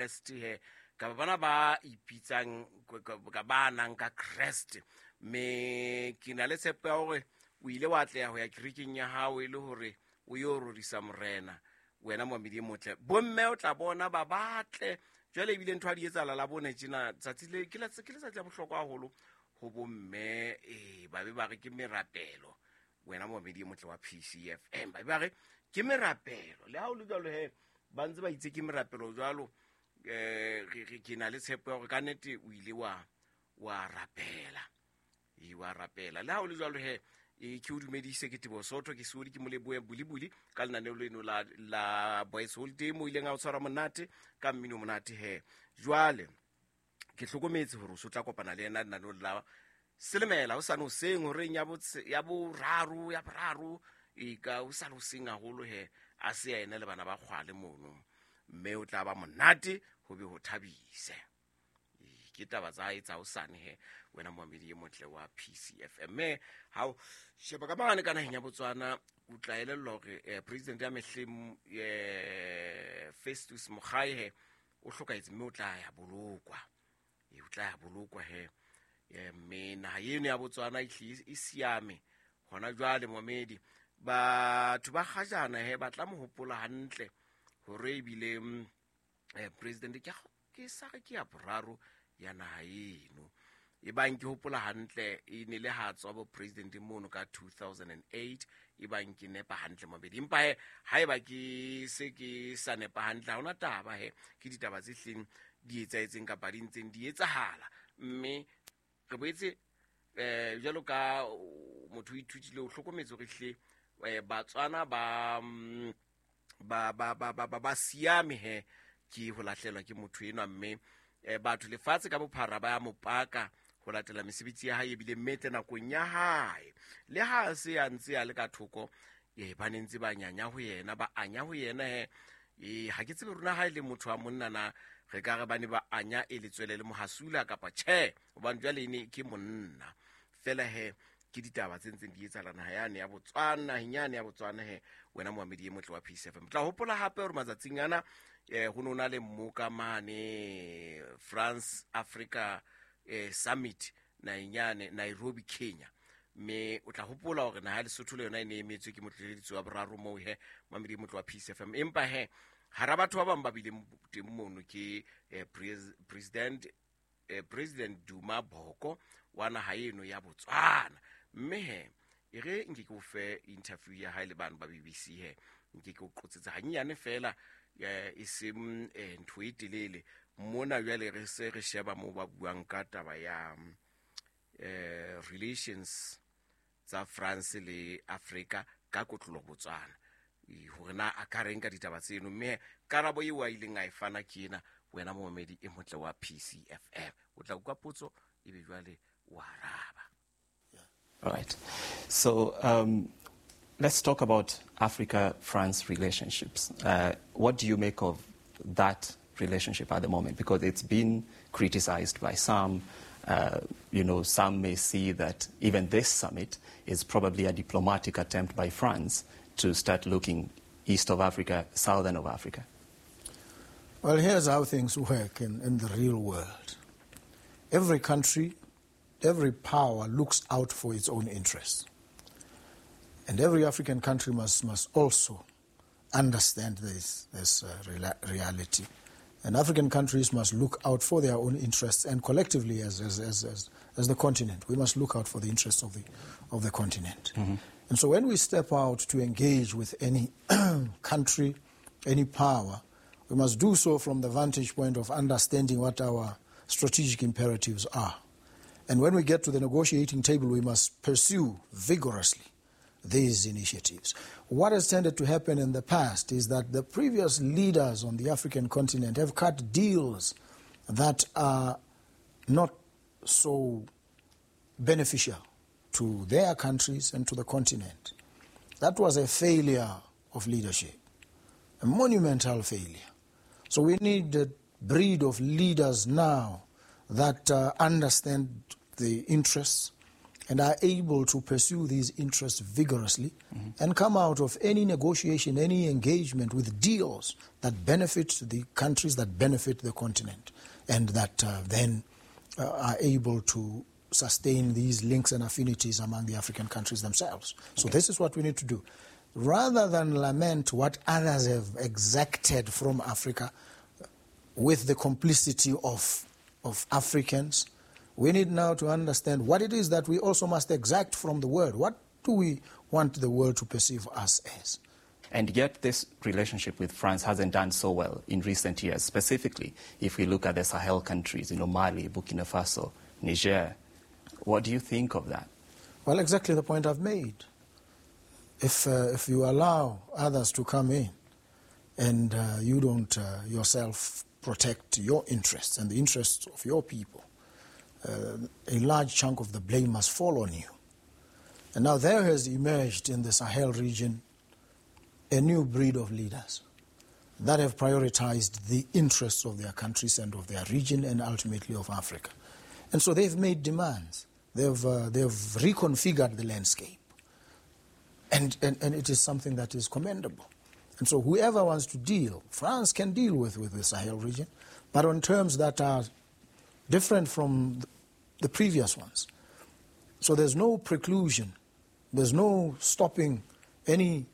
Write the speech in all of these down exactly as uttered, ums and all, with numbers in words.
Kreste he kapa bana ba ipitsang ka ba nang ka Kreste. Mme ke na le tshepo ya hore o ile wa atleha ho ya kerekeng ya hao e le hore o yo rorisa morena wena momamedi e motle. Bomme o tla bona ba batle jwale, ebile ntho a di etsahala la bone tjena tsatsi le ke letsatsi la bohlokwa haholo ho bomme. Ee, ba be ba re ke merapelo wena momamedi e motle wa P C F M, ba be ba re ke merapelo. Le ha o le jwalo he, ba ntse ba itse ke merapelo jwalo. Eh, ke na le tshepo ya hore ka nnete o ile wa wa rapela, e wa rapela. Le ha o le jwalo he, e ke o dumedise ke Teboho Sotho, ke Seodi, ke Moleboe Bulibuli ka lenaneo leno la la Boys Holiday mo ileng a o tshwara monate ka mmino monate he. Jwale ke hlokometse hore o so tla kopana le yena lenaneong la Selemela o sane hoseng horeng ya ya boraro ya boraro e ka o sane hoseng haholo he, a se yena le bana ba kgwale mono, mme o tla ba monate ho be ho thabise. Ke taba tsa hae tsa hosane he wena momamedi e motle wa P C F M. Mme ha o sheba ka mane ka naheng ya Botswana, o tla elellwa hore eh, president ya mehleng eh, Festus Mogae he o hlokahetse, mme o tla ya bolokwa, e o tla ya bolokwa he. Mme naha eno ya Botswana e hlile e siame hona jwale momamedi. Batho ba kgajana he ba tla mo hopola hantle hore ebile eh, president ke ke sa re ke ya boraro ya naha eno. E bang ke hopola hantle e ne le ha tswa bo president mono ka two thousand and eight, e bang ke nepa hantle mabedi. Empa he haeba ke se ke sa nepa hantle ha hona taba he, ke ditaba tse hleng di etsahetseng kapa di ntseng di etsahala. Mme re boetse eh jwalo ka motho o ithutile o hlokometse hore hle eh Batswana ba ba ba ba ba ba siame he ke ho lahlelwa ke motho enwa. Mme eh batho lefatshe ka bophara ba ya mopaka ho latela mesebetsi ya hae ebile metle nakong ya hae. Le ha se a ntse a le ka thoko, eh ba ne ntse ba nyanya ho yena, ba anya ho yena he. Eh ha ke tsebe rona ha ile motho wa monna na re ka re ba ne ba anya e letswele le mohasula kapa tjhe, hobane jwale ene ke monna fela he. Ke ditaba tse ntseng di etsahala naha yane ya Botswana, naheng yane ya Botswana he wena momamedi e motle wa P C F M. Tla hopola hape hore matsatsing ana eh ho no na le mmoka mane France Africa eh Summit naheng yane Nairobi, Kenya. Mme o tla hopola hore naha ya Lesotho le yona e ne emetswe ke motleleditsi wa boraro moo he momamedi e motle wa P C F M. Empa he hara batho ba bang ba bileng teng mono ke eh, president eh, President Duma Boko wa naha eno ya Botswana. Mme he e re nke ke o fe interview ya hae le bana ba B B C he, nke ke o qotsetsa hanyenyane fela e seng ntho e telele. Mona jwale re se re sheba moo ba buang ka taba ya eh relations tsa France le Africa ka kotlolo Botswana, hore na a ka reng ka ditaba tseno. Mme karabo eo a ileng a e fana ke ena wena momamedi e motle wa P C F M. O tla utlwa potso ebe jwale o araba. All right. So um, let's talk about Africa-France relationships. Uh, what do you make of that relationship at the moment? Because it's been criticized by some. Uh, you know, some may see that even this summit is probably a diplomatic attempt by France to start looking east of Africa, southern of Africa. Well, here's how things work in, in the real world. Every country, every power looks out for its own interests. And every African country must, must also understand this, this uh, rela- reality. And African countries must look out for their own interests, and collectively as, as, as, as, as the continent, we must look out for the interests of the, of the continent. Mm-hmm. And so when we step out to engage with any country, any power, we must do so from the vantage point of understanding what our strategic imperatives are. And when we get to the negotiating table, we must pursue vigorously these initiatives. What has tended to happen in the past is that the previous leaders on the African continent have cut deals that are not so beneficial to their countries and to the continent. That was a failure of leadership, a monumental failure. So we need a breed of leaders now that uh, understand the interests and are able to pursue these interests vigorously mm-hmm. and come out of any negotiation, any engagement with deals that benefit the countries, that benefit the continent, and that uh, then uh, are able to sustain these links and affinities among the African countries themselves. So okay. this is what we need to do. Rather than lament what others have exacted from Africa with the complicity of, of Africans, we need now to understand what it is that we also must exact from the world. What do we want the world to perceive us as? And yet this relationship with France hasn't done so well in recent years, specifically if we look at the Sahel countries, you know, Mali, Burkina Faso, Niger. What do you think of that? Well, exactly the point I've made. If, uh, if you allow others to come in and uh, you don't uh, yourself protect your interests and the interests of your people, Uh, a large chunk of the blame must fall on you. And now there has emerged in the Sahel region a new breed of leaders that have prioritized the interests of their countries and of their region and ultimately of Africa. And so they've made demands. They've, uh, they've reconfigured the landscape. And, and, and it is something that is commendable. And so whoever wants to deal, France can deal with, with the Sahel region, but on terms that are different from the previous ones. So there's no preclusion. There's no stopping any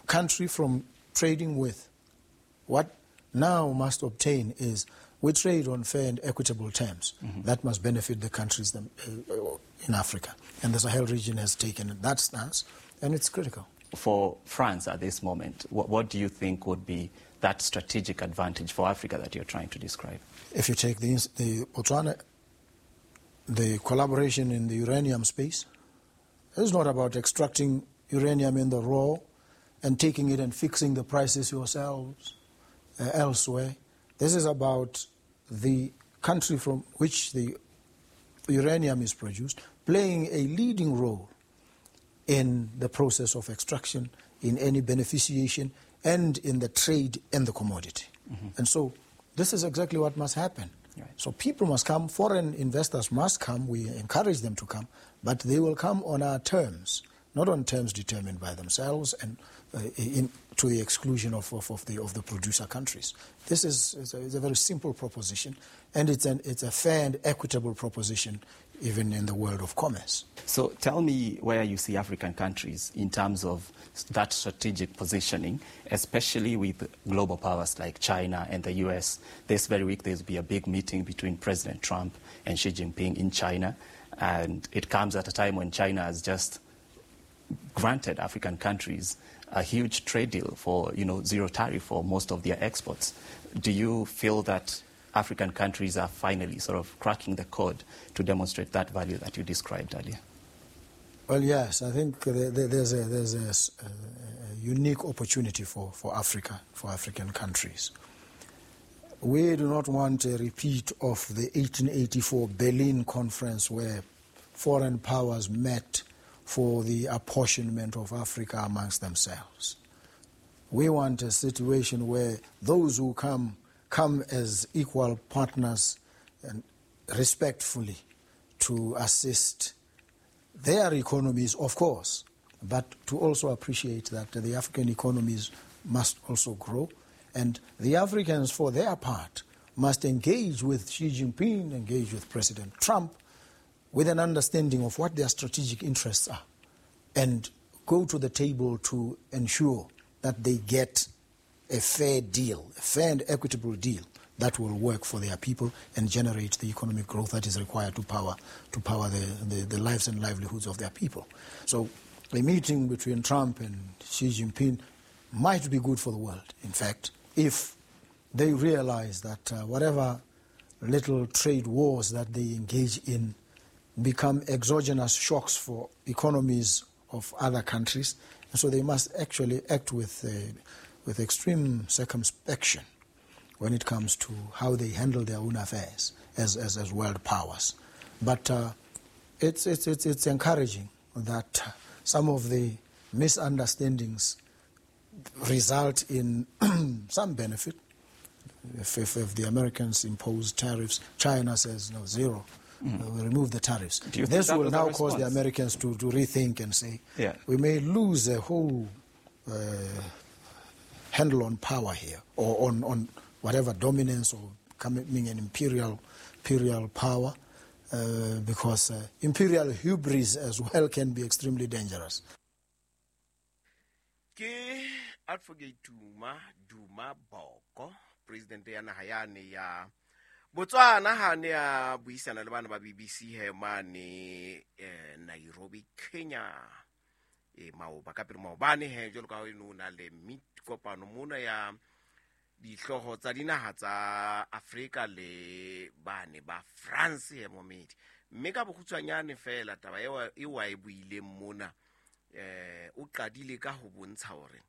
country from trading with. What now must obtain is we trade on fair and equitable terms. Mm-hmm. That must benefit the countries in Africa. And the Sahel region has taken that stance, and it's critical. For France at this moment, what, what do you think would be that strategic advantage for Africa that you're trying to describe? If you take the, the Botswana, the collaboration in the uranium space, it's not about extracting uranium in the raw and taking it and fixing the prices yourselves uh, elsewhere. This is about the country from which the uranium is produced playing a leading role in the process of extraction, in any beneficiation, and in the trade and the commodity. Mm-hmm. And so this is exactly what must happen. Right. So people must come, foreign investors must come, we encourage them to come, but they will come on our terms, not on terms determined by themselves and uh, in, to the exclusion of, of, of, the, of the producer countries. This is, is, a, is a very simple proposition, and it's, an, it's a fair and equitable proposition even in the world of commerce. So tell me where you see African countries in terms of that strategic positioning, especially with global powers like China and the U S. This very week there'll be a big meeting between President Trump and Xi Jinping in China, and it comes at a time when China has just granted African countries a huge trade deal for, you know, zero tariff for most of their exports. Do you feel that African countries are finally sort of cracking the code to demonstrate that value that you described earlier? Well, yes, I think there's a, there's a, a unique opportunity for, for Africa, for African countries. We do not want a repeat of the eighteen eighty-four Berlin Conference where foreign powers met for the apportionment of Africa amongst themselves. We want a situation where those who come come as equal partners and respectfully to assist their economies, of course, but to also appreciate that the African economies must also grow, and the Africans, for their part, must engage with Xi Jinping, engage with President Trump, with an understanding of what their strategic interests are, and go to the table to ensure that they get a fair deal, a fair and equitable deal that will work for their people and generate the economic growth that is required to power to power the, the, the lives and livelihoods of their people. So a meeting between Trump and Xi Jinping might be good for the world, in fact, if they realize that uh, whatever little trade wars that they engage in become exogenous shocks for economies of other countries. And so they must actually act with, uh, with extreme circumspection when it comes to how they handle their own affairs as, as, as world powers. But uh, it's, it's, it's, it's encouraging that some of the misunderstandings result in some benefit. If, if, if the Americans impose tariffs, China says no, zero. Mm. Uh, we remove the tariffs. Do you think This that will was a now cause the response? Americans to, to rethink and say, Yeah. we may lose a whole uh, handle on power here, or on, on whatever dominance or becoming an imperial, imperial power, uh, because, uh, imperial hubris as well can be extremely dangerous. Ke Advocate Duma, Duma Boko, president ya naha yane ya Botswana, ha ne a buisana le bana ba B B C he mane, eh, Nairobi, Kenya. E maoba ka pele maobane he, jwalo ka ha o na le meet kopano mona ya dihlooho tsa dinaha tsa Afrika le bane ba France he momedi. Mme ka bokgutshwanyane fela taba eo e wa e buileng mona, eh, o qadile ka ho bontsha hore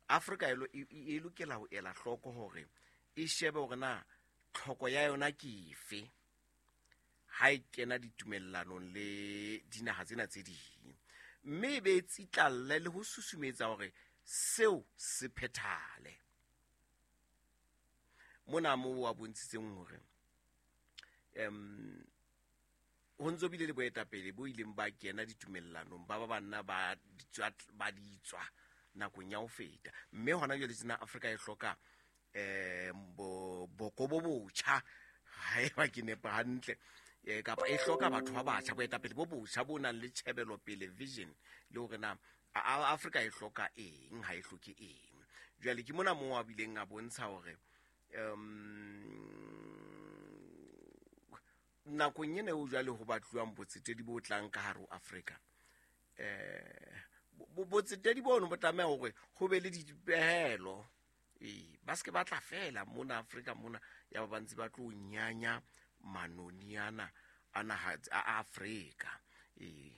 Afrika e lo-, e, e, e lokela ho ela hloko hore e shebe hore na tlhoko ya yona ke efe ha e kena ditumellanong le dinaha tsena tse ding, mme e be e tsitlalle le ho susumetsa hore seo se phethahale. Mona moo a bontshitseng hore, em, ho ntso bile le boetapele bo ileng ba kena ditumellanong, ba ba banna ba ditswa, ba ditswa nakong ya ho feta. Mme hona jwale tjena Afrika e hloka, eh, bo-, boko bo botjha, haeba ke nepa hantle, eh, kapa e hloka batho ba batjha, boetapele bo botjha bo nang le tjhebelopele, vision, le hore na A-, A-, Afrika e hloka eng, ha e hloke eng. Jwale ke mona moo a bileng a bontsha hore, em, nakong ena eo jwale ho batluwang botsetedi bo tlang ka hare ho Afrika, eh, bo-, botsetedi bono bo tlameha hore ho be le dipehelo. Ee, ba se ke ba tla fela mona Afrika mona, ya ba ba ntse ba tlo nyanya manoni ana a naha a Afrika. Ee,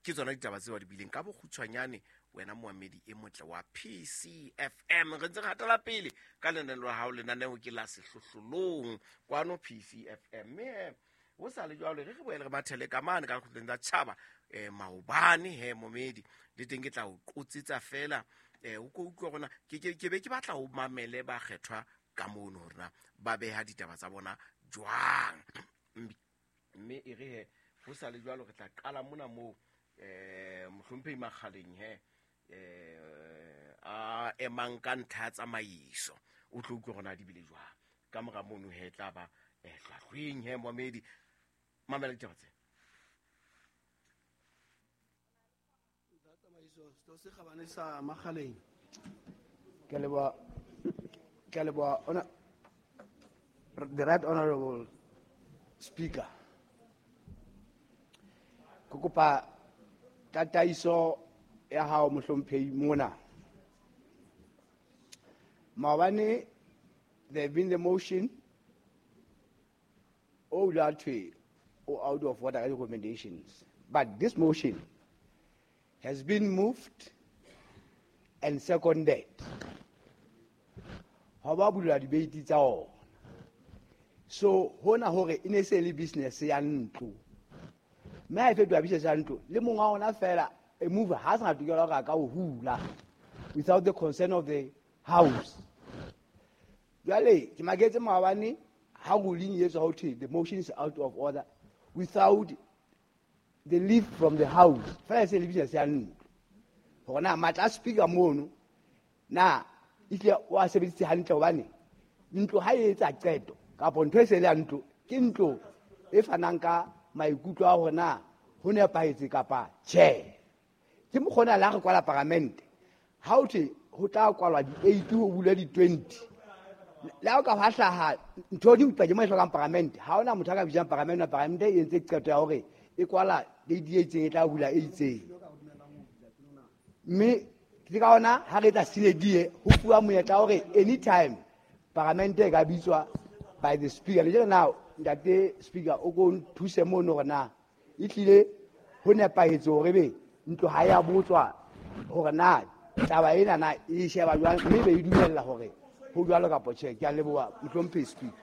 ke tsona ditaba tseo di bileng ka bokgutshwanyane wena moamedi e motle wa P C F M. Re ntse re hatela pele ka lenaneo la hao, lenaneo ke la sehlohlolong kwano P C F M. Mme ho sa le jwalo, re re boele re mathele ka mane ka lekgotleng la tjhaba, eh, maobane he momedi, le teng ke tla o qotsetsa fela, eh, o ko utlwe hore na ke, ke, ke be ke batla ho mamele ba kgethwa ka mono hore na ba beha ditaba tsa bona jwang. Mme e re he, ho sa le jwalo re tla qala mona moo, eh, mohlomphehi Makgaleng he, eh, a emang ka ntlha ya tsamaiso, o tlo utlwe hore na di bile jwang. Ka mora mono he tla ba, eh, hlwahlweng he momedi. Mamela ditaba tse. Tsamaiso, se kgabane sa Makgaleng. Ke a leboha, ke a leboha, ona, the right honorable speaker. Ke kopa tataiso ya hao mohlomphehi mona. Maobane there have been the motion o la thwe o out of order recommendations, but this motion has been moved and seconded. Ha ba bulwa debate tsa ona. So hona hore e ne se le business ya ntlo. Mme ha e fetoha business ya ntlo, le monga ona fela e move ha sa tokelo hore a ka o hula without the consent of the house. Jwale ke maketse maobane ha ruling e etswa ho thwe the motion is out of order without the leave from the house. Fela e se le business ya ntlo. Hore na matla a speaker mono na ehlile o a sebedisitse hantle, hobane ntlo ha e etsa qeto kapa ntho e se le ya ntlo, ke ntlo e fanang ka maikutlo a hore na ho nepahetse kapa tjhe. Ke mokgona la re kwala paramente, ha ho thwe ho tla kwalwa di-eight ho bulwe di-twenty. Le ha o ka hwa hlaha ntho di utlwa ke mo e hlokang paramente, ha hona motho a ka bitsang paramente, paramente e entse qeto ya hore e kwala date e itseng, e tla bula e itseng. Mme ke ka hona ha re etsa sinedie ho fuwa monyetla wa hore anytime paramente e ka bitswa by the speaker. Le jwale na ntate speaker o ko nthuse mono hore na e hlile ho nepahetse hore be ntlo ha ya botswa hore na taba ena na e sheba jwang, mme be e dumella hore ho jwalo kapa tjhe. Ke a leboha mohlomphehi speaker.